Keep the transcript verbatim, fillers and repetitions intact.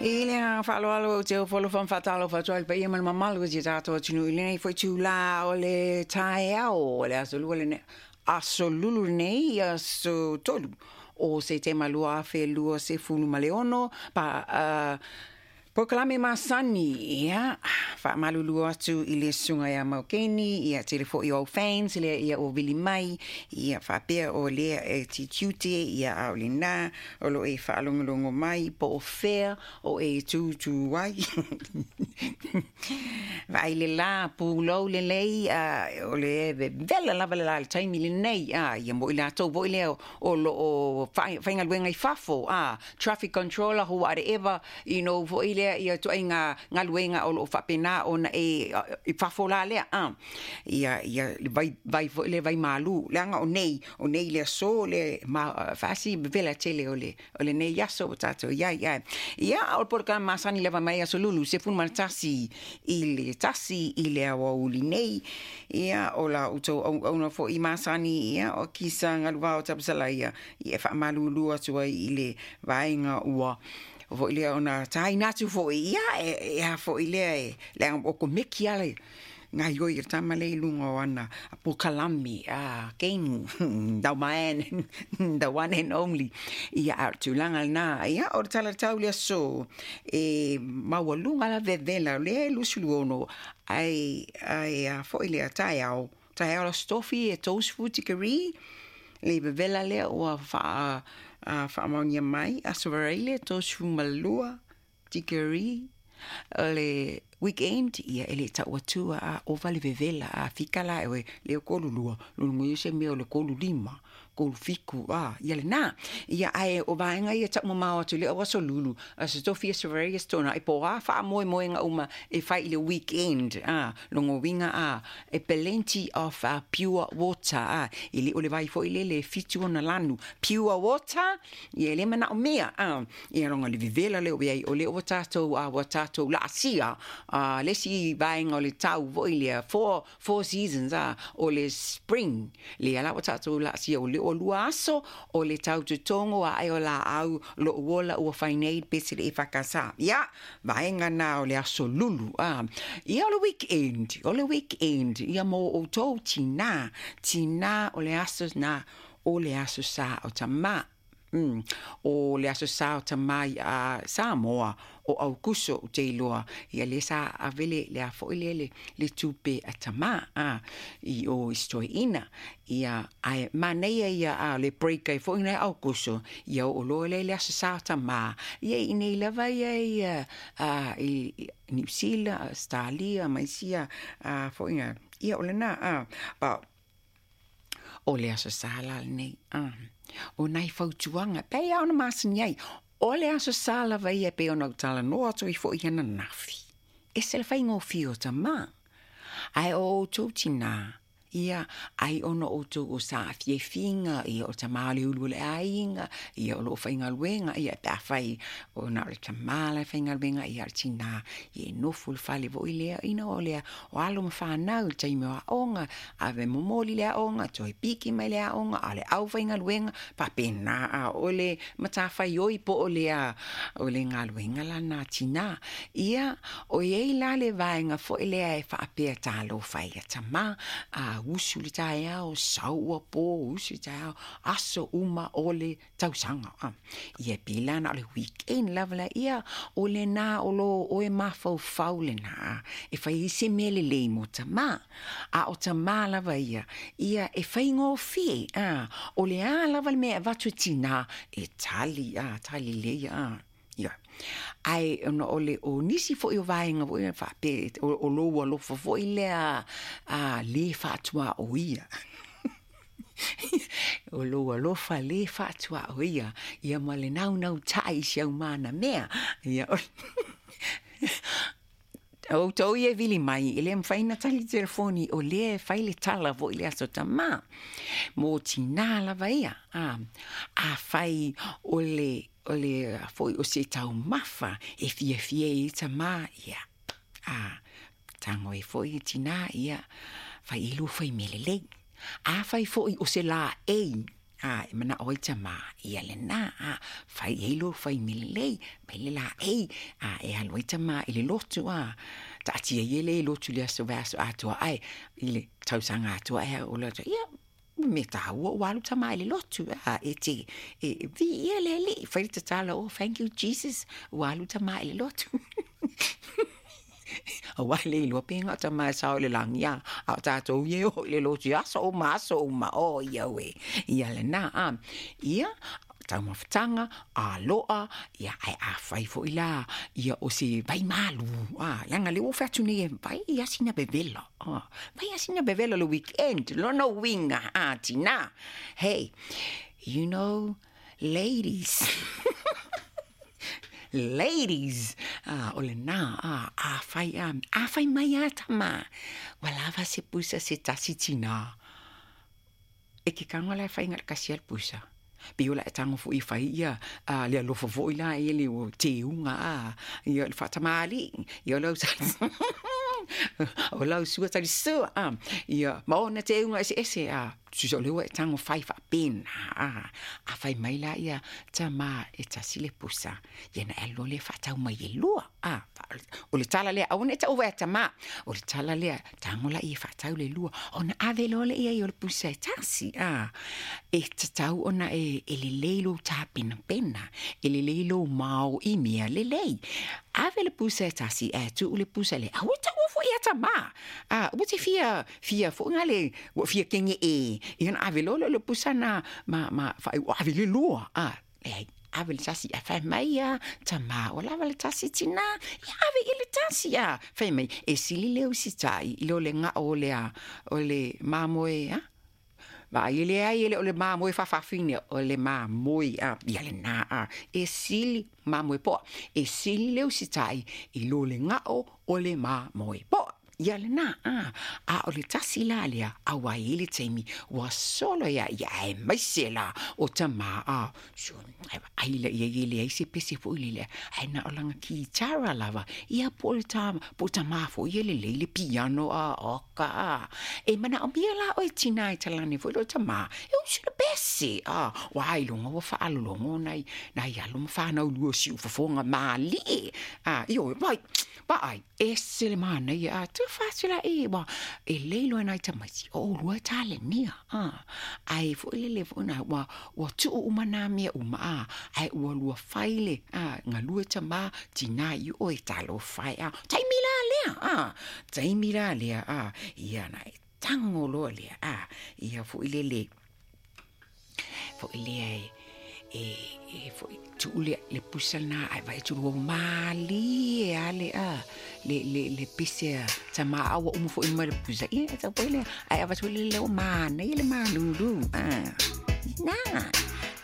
I le agaga faaaloalo ou te ofo alofa ma faatalofa atu ai i le paia ma le mamalu o si o tatou atunuu i lenei foi itulā o le taeao o le aso Lua lenei, aso Lulu lenei, aso tolu o Setema lua afe lua sefulu ma le ono, pa, uh, polokalame masani. Ia, faamalulu atu i le susuga ia Maukeni, ia tele foi o au fans lea ia ua vili mai, ia faapea o lea e te tiute, ia a o lena o lo o e faalogologo mai po o fea o e tūtū ai. Vaai le la, pulou lelei, a, o le vevela lava le la i le taimi lenei, a, ia mo i latou foi lea o lo o faigaluega i fafo, a, traffic controller, whatever, you know, foi lea ia ituaiga galuega o lo o faapena ona e i fafo la lea, a, ia, ia le vai, vai foi lea vai malu, leaga o nei, o nei le aso le ma, faasi vevela tele o le, o lenei aso ua tatou i ai, ae, ia, o le polokalame masani lava mai aso Lulu, sefulu ma le tasi i le tasi i le aoauli nei, ia, o la outou auauna foi masani, ia, o Kisa Galuvao Tapusalaia, ia, e faamalulu atu ai i le vaega ua foi lea ona taina atu foi, ia, e, e a foi lea e, leaga o komeki ala gaioi e le tama lea i luga o ana polokalame a keinu, the man, the one and only. Ia, a o le tulaga lena, ia, o le tala tau le aso e maualuga la vevela o lea e luasefulu ono, ai, ai a foi lea taeao, taeao le Aso Tofi e tolusefulu tikeri le vevela lea ua faa faamaonia mai, Aso Faraile tolusefulu ma lua tikeri o le weekend, ia e le tau atua a ova le vevela a fika la e lea kolu lua lulu se mea o le kolu lima kolu fiku a ia lena ia ae o vaega ia taumamao atu le o aso Lulu, Aso Tofi, Aso Faraile, Aso Toonai po o a faamoemoega uma e fai i le weekend a logo uiga a e plenty of uh, pure water a e le o le vai foi lele e fitu ona lanu pure water ia e le manaomia a ia loga le vevela lea ua i ai o lea ua tatou a ua tatou laasia a le isi vaega o le tau foi lea four, four seasons a o le spring lea la ua tatou laasia o lea ua lua aso o le tau totogo ae o laau lou ola ua fai nei pe se le e fakasa ia vaega na o le aso Lulu a ia o le weekend o le weekend ia mo outou tinā tinā o le aso na o le aso Sa o Tamā. Mm. O le aso Sa o Tamā i a Samoa o Aukuso ou te iloa ia lea sa ave le le a foi lea le, le tupe a tamā a i o i si toeaina ia ae manaia ia a le break ai foi lena i Aukuso ia oo loa lea i le aso Sa o Tamā ia i inei lava ia ia a i Niu Sila, Australia ma isi a foi ia o lena a but o le aso Sa la lenei a o nai fautuaga pei lava ona masani ai o le aso Sa lava ia e pei ona ou talanoa atu ai foi i ananafi ese le faigofie o tamā ae o outou tinā ia ai ona o outou o saafiafiga ia o tamā o le ulu o le aiga ia o loo faigaluega ia pe afai ona o le tamā la e faigaluega ia o le tinā ia e nofo i le fale foi lea ina o lea o alo ma fanau i le taimi o aoga ave momoli le aoga toe piki mai le aoga a o le aufaigaluega faapena a o le matafaioi po o le a o le galuega lana tinā ia o i ai la le vaega foi lea e faapea talofa ai ia tamā a usu le taeao sau ua po usu le taeao aso uma o le tausaga a ia pei la na o le weekend lava la ia o lena o lo oe mafaufau lena e fai ai se mea lelei mo tamā a o tamā lava ia ia e faigofie a o le a lava le mea e avatu e tinā e tali a tali lelei a ia ae ona o le o nisi foi o vaega foi e faapea o, o lou alofa foi lea a lē faatuaoia o lou alofa lē faatuaoia ia ma le naunautai i si aumana mea ia outou ia e vili mai e le mafai ona tali telefoni o lea e fai le tala foi i le aso tamā mo tinā lava ia a afai o le o le foi o se taumafa e fiafia ai tamā ia a tago ai foi e tinā ia fai ai lua fai mea lelei afai foi o se laei A e mana'o ai tamā, ia lenā a fai ai lou faimi lelei mai le laei a e alu ai tamā i le lotu a taatia ia le lotu le aso vaiaso atoa ae i le tausaga atoa ae o le ia me tāua ua alu tamā i le lotu a e te e viia le Alii fai le tatalo, oh thank you Jesus ua alu tamā i le lotu. Auā le iloa pe gao tamā e sao i le lagi a a o tatou ia e oo i le lotu i aso uma aso uma o ia ue ia lenā a ia taumafataga aloa ia ae afai foʻi la ia o se vai malu a leaga lea ua ou faiatu nei e vai ia sina vevela a vai ia sina vevela le weekend lona uiga a tinā. Hey, you know, ladies, ladies a o lenā a afai a afai mai a tamā ua lava se pusa se tasi tinā e ke tago la e faiga le kasi a le pusa pei o la e tago foʻi e fai ia a le alofa foʻi la ia le teuga a ia le faatamalii ia o lau o lau sua talisua a ia ma ona teuga eseese a tusa o lea ua e tago fai faapena a afai mai la ia tamā e tasi le pusa ia na e alu loa lea faatau mai e lua a o le tala lea aua ne i taʻu ai tamā o le tala lea tago laia e faatau le lua ona ave loa lea i ai o le pusa e tasi a e tatau ona e e lelei lou tapenapena e lelei lou mao i mea lelei ave le pusa e tasi ae tuu le pusa lea aua e taua foʻi ia tamā a ua te fia fia foʻi gale ua fia kegeʻe ia ona ave loa lea o le pusa na ma ma faaiuʻu ave le lua a leai ave le tasi ae fai mai ia tamā ua lava le tasi tinā ia ave i le tasi a fai mai e sili le usitai i lo le gao o le a o le mamoe a vaai e leai e le o le mamoe faafafine o le mamoe a ia lenā a e sili mamoe poa e sili le usitai i lo le gao o le mamoe poa ia lenā a a o le tasi la lea auā e i ai le taimi ua solo ia ia aemaise la o tamā a ai laia e leai se pese foʻi lele ae na o lana kitara lava ia po o le tā po o tamā foʻi ia lelei le piano a oka a e manaʻomia la oe tinā e talane foʻi loo tamā e usu le pese a ua ailoga ua faalologo nai nai alo ma fanau lua o siufofoga malie a ioe vai vaai ese le manaia a tufa atu la e ua e lei loa nai tamaiti o ʻolua e talenia a ae foʻi lele foʻi na ua ua tuu uma nā mea uma a ae ua lua fai le a galue tamā tinā i oe talofa e a taimi la lea a taimi la lea a ia na e tago loa lea a ia foʻi lele foʻi lea e e e foʻi tuu le le pusa lenā ae vaai atu ua malie a le a le le le pese a tamā a ua uma foʻi ma le pusa ia e tau foi lea ae avatu le leo manaia le malūlū a na.